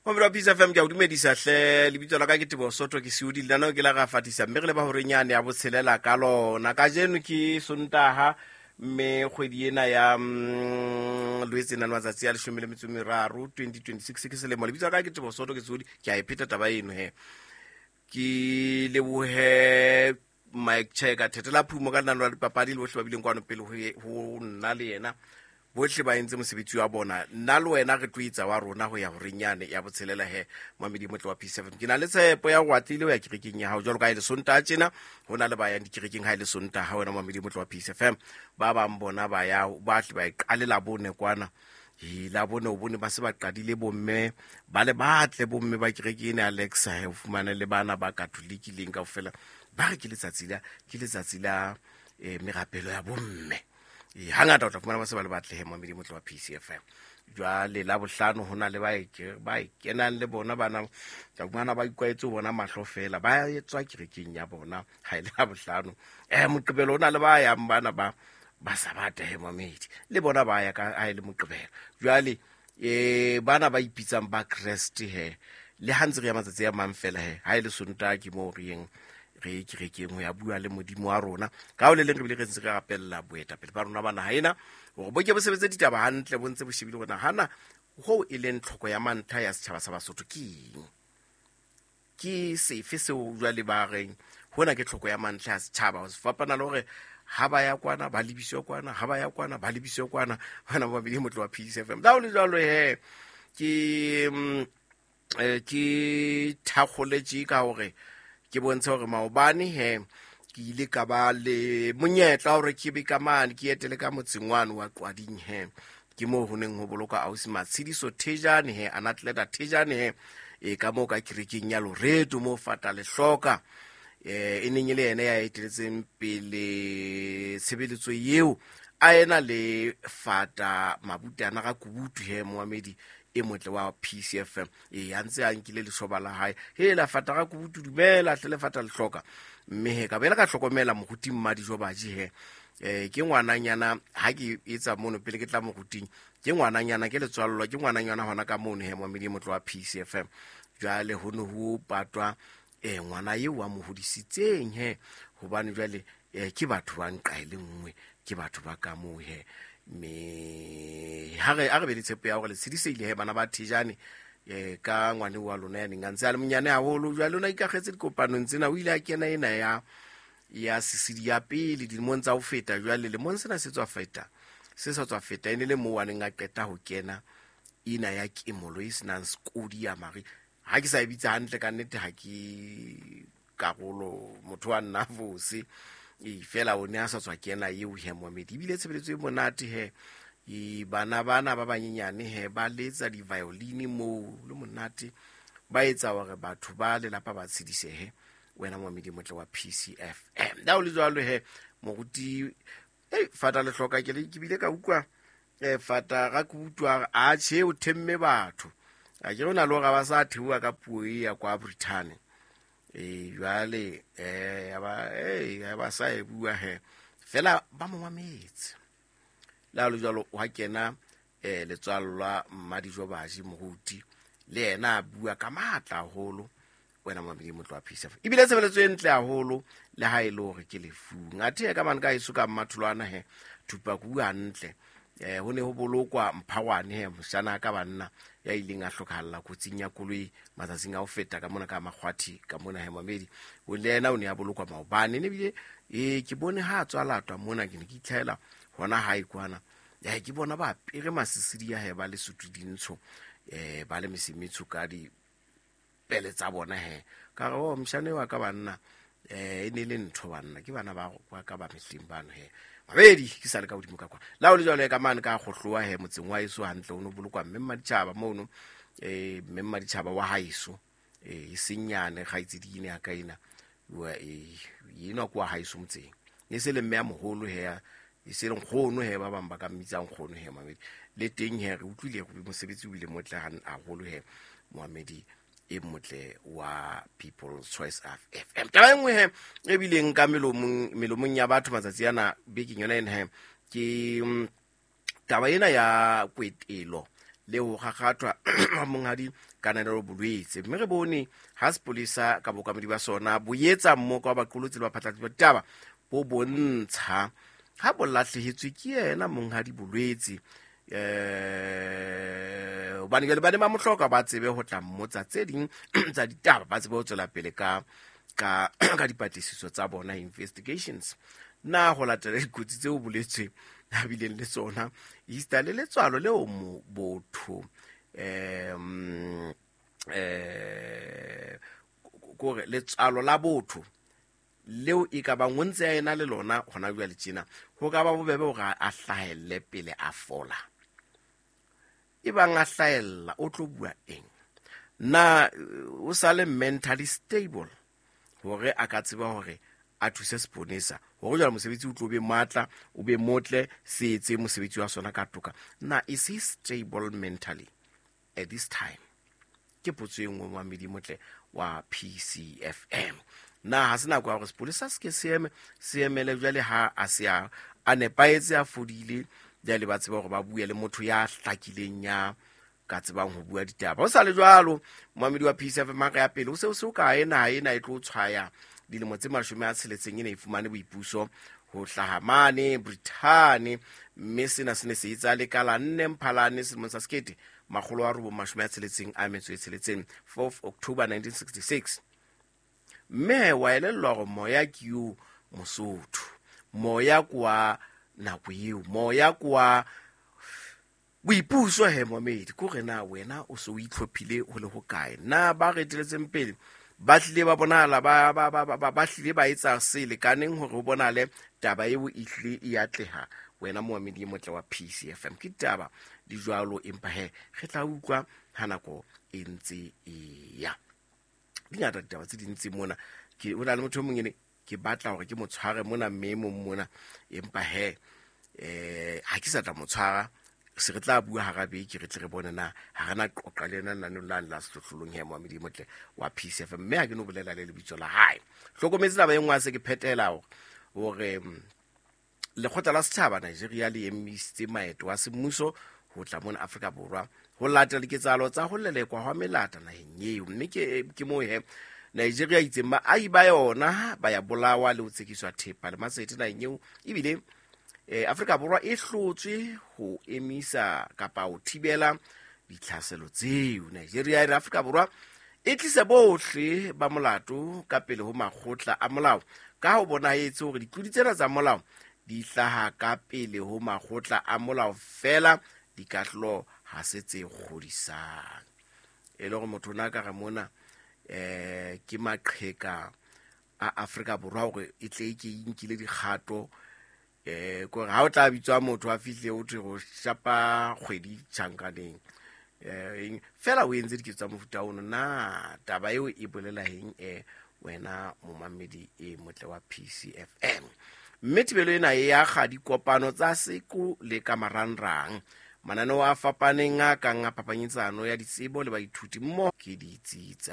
Mamelo wa Peace FM, ke a o dumedisa hle. Lebitso la ka ke Teboho Soto, ke Seodi. Lenaneo ke la ra fatisa, mme re leba horenyane ya botshelela ka lona. Kajeno ke Sontaha, mme kgwedi ena ya Loetse nane matsatsi a 13, 2026 ke selemo. Lebitso la ka ke Teboho Soto, ke Seodi. Ke a e pheta taba eno he. Ke lebohe Mike Cheka Thetela Phumo ka lenaneo la dipapadi le bohle ba bileng kwano pele ho nna le yena. Bohle ba entse mosebetsi wa bona. Nna le wena re tlo etsa wa rona ho ya horeng yane ya botshelela he, mamedi motle wa P7. Ke na le tshepo ya go atlile ho ya kerekeng ya hao jwalo ka ha e le Sontaha tjena. Ho na le ba yang dikerekeng ha e le Sontaha, wena mamedi motle wa Peace FM. Ba bang bona ba ya ba tle ba e qale la bone kwana. E la bone o bone ba se ba qadile bomme ba le batle, bomme ba kereke ena Alexa he, o fumane le bana ba Katholiki leng kaofela ba re ke letsatsi la, ke letsatsi la merapelo ya bomme. E hangata o tla fumana ba se ba le batle he, mamedi motle wa PCFM. Jwale la bohlano ho na le ba e ba e kenang le bona bana, tla fumana ba ikwahetse ho bona mahlo fela, ba etswa kerekeng ya bona ha e le la bohlano. Moqebelo o na le ba yang bana ba Sabata he, mamedi, le bona ba ya ka ha e le Moqebelo. Jwale bana ba ipitsang ba Kreste he, le ha ntse re ya matsatsi a mang fela he, ha e le Sontaha ke moo re yeng re kerekeng ho ya bua le Modimo wa rona. Ka ho le leng re bile re ntse re rapella boetapele ba rona ba naha ena hore bo ke bo sebetse ditaba hantle, bo ntse bo shebile hore nahana hoo e leng tlhoko ya mantlha ya setjhaba sa Basotho ke eng, ke sefe seo jwale ba reng hona ke tlhoko ya mantlha ya setjhaba. Ho se fapana le hore ha ba ya kwana ba lebiswe kwana, ha ba ya kwana ba lebiswe kwana. Bana ba babedi motle wa Peace FM. La ho le jwalo he, ke thakgoletše ka hore ke bontshe hore maobane he ke ile ka ba le monyetla hore ke be ka mane ke etele ka motseng wane wa Qwading he. Ke moo ho neng ho boloka ausi Matshediso Thejane he, Anatleta Thejane he, e ka moo ka kerekeng ya Loreto moo Fata Lehloka, e neng e le yena ya eteletseng pele tshebeletso eo, a ena le Fata Mabutana ga Kubutu he, moamedi e motle wa PCFM. E a ntse a nkile leshoba la hae he la Fata ga Kubutu, dumela hle le Fata Lehloka. Mme he ka bela ka hlokomela moruti Mmadijo Baji he, ke ngwananyana ha ke etsa mono pele ke tla moruting, ke ngwananyana ke letswallwa, ke ngwananyana hona ka mono he, moamedi e motle wa PCFM. Jwale ho ne ho patwa ngwana eo wa mo hodisitseng he, hobane jwale ke batho ba nqa e le nngwe, ke batho ba ka moo he. Mme ha re, a re be le tshepo ya hore le tshediseile he bana ba Thejane, ka ngwane wa lona ya neng a ntse a le monyane haholo. Jwale o ne a ikakgetse dikopanong tsena, o ile a kena ena ya sesedi ya pele dilemong tsa ho feta. Jwale lemong sena se tswa feta, se sa tswa feta, e ne le moo a neng a qeta ho kena ena ya kemolo e senang sekodi ya mare. Ha ke sa e bitsa hantle ka nnete, ha ke karolo motho wa nna fose e fela o ne a sa tswa kena eo he, moamedi. Ebile tshebeletso e monate he, e bana bana ba banyenyane he ba letsa di-violin moo le monate, ba etsa hore batho ba lelapa ba tshedisehe. Wena moamedi motle wa PCFM, la o le jwalo he moruti ei Fata Lehloka, ke le ke bile ka utlwa Fata ga ke utlwa a tjhe o themme batho a ke rona le hore ba sa theoha ka puo e ya kwa Britain. Jwale ya ba ya ba sa e bua he fela ba mo mametse. Le ha le jwalo wa kena letswallwa Mmadijo Baji moruti le yena a bua ka matla haholo. Wena mamedi motlo wa PCF, ebile tshebeletso e ntle haholo le ha e le hore ke lefung. Athe ka mane ka heso ka Mmatholwana he, thupa ke bua hantle. Ho ne ho bolokwa Mphagwane he, moshana ka banna ya ileng a hlokahalla kotsing ya koloi matsatsing a ho feta ka mona ka Makgwathi ka mona he, mamedi. O le yena o ne a bolokwa maobane. Ne bile ke bone ha a tswa latwa mona, ke ne ke itlhaela hona hae kwana. Ke bona ba apere masisidi ya he, ba le sutu dintsho, ba le mesemetsho ka di pele tsa bona he. Ka re, oh, moshane wa ka banna, e ne le ntho banna, ke bana ba ka ba mehleng bano he. Mabedi ke sa le ka hodimo ka kwa. La ho le jwalo ka mane ka kgohlowa he motseng wa heso hantle, o no bolokwa mme mmaditjhaba mono, mme mmaditjhaba wa haeso, e seng nyane kgaitsedi ene ya ka ena, wa, enwa ke wa haeso motseng. Ne se le mme ya moholo he, e se le nkgono he, ba bang ba ka mmitsang nkgono he, moamedi. Le teng he re utlwile hore mosebetsi o bile motle haholo he, moamedi e motle wa People's Choice FM. Taba e nngwe he e bileng ka melomong ya batho matsatsi ana bekeng yona ena he, ke taba ena ya kwetelo le ho kgakgathwa ha Monghadi Kananelo Bolwetse. Mme re bone ha sepolesa ka bookamedi ba sona bo etsa mmoka wa baqolotsi le baphatlalatsi ba ditaba bo bontsha ha bo lahlehetswe ke yena Monghadi Bolwetse, hobane jwale ba ne ba mo hloka, ba tsebe ho tla mmotsa tse ding tsa ditaba, ba tsebe ho tswela pele ka dipatlisiso tsa bona, investigations. Na ho latela dikotsi tseo boletswe a bileng le tsona, esita le letswalo leo mo botho kore letswalo la botho leo e ka bang o ntse a ena le lona hona jwale tjena, ho ka ba bobebe hore a hlahelle pele a fola. E bang a hlahella, o tlo bua eng? Na o sa le mentally stable hore a ka tseba hore a thuse seponesa hore jwale mosebetsi o tlo be matla, o be motle, se etse mosebetsi wa sona ka toka? Na is he stable mentally at this time? Ke potso e nngwe, moamedi motle wa PCFM. Na ha se nako ya hore sepolesa se ke se eme, se emele jwale ha a se a nepahetse, a fodile, jwale ba tseba hore ba bue le motho ya hlakileng, ya ka tsebang ho bua ditaba? Ho sa le jwalo, moamedi wa PCFM, ha re ya pele, o se o se o kae? Naha ena e tlo tshwaya dilemo tse 60 e ne e fumane boipuso ho hlaha mane Brithane, mme sena se ne se etsa le ka la 4 Mphalane selemong sa 1966, 4 October 1966. Mme wa elellwa hore moya ke yo Mosotho, moya kwa nako eo, moya kwa boipuso he, momedi, ko re na wena o se o itlhophile ho le hokae? Na ba re eteletseng pele ba hlile ba bonahala ba hlile ba etsa se lekaneng hore ho bonale taba eo e hlile e atleha? Wena moamedi e motle wa PCFM, ke ditaba di jwalo, empa he re tla utlwa ha nako e ntse e ya. Di ngata ditaba tse dintsi mona. Ke o na le motho e mong ene ke batla hore ke mo tshware mona, mme e mong mona, empa he ha ke sa tla mo tshwara. Se re tla bua hara beke, re tle re bone na ha re na qoqa le yena lenaneng lane la sehlohlolong he, moamedi motle wa PCFM. Mme ha ke no bolela le lebitso la hae. Hlokometse taba e nngwe, a se ke phetela hore lekgotla la setjhaba Nigeria le emisitse maeto a semmuso ho tla mona Afrika Borwa ho latela diketsahalo tsa ho lelekwa hwa melata naheng eo. Mme ke moo he Nigeria itseng baahi ba yona ba ya bolawa le ho tsekiswa thepa le matsete naheng eo, ebile Afrika Borwa e hlotswe ho emisa kapa ho thibela ditlhaselo tseo. Nigeria e re Afrika Borwa e tlise bohle ba molato ka pele ho makgotla a molao, ka ho bonahetse hore ditlodi tsena tsa molao di hlaha ka pele ho makgotla a molao fela, dikahlolo ha se tse kgodisang. E le hore motho o na ka re mona ke maqheka a Afrika Borwa hore e tle e ke e nkile dikgato, kore ha o tla bitswa motho a fihle o thwe go shapa kgwedi tjhankaneng, fela o entse diketso tsa mofuta ono. Na taba eo e bolela eng, wena momamedi e motle wa PCFM? Mme thibelo ena e akga dikopano tsa seko le ka marangrang, mananeo a fapaneng a kang a phapanyetsano ya ditsebo le baithuti mmoho ke ditsi tsa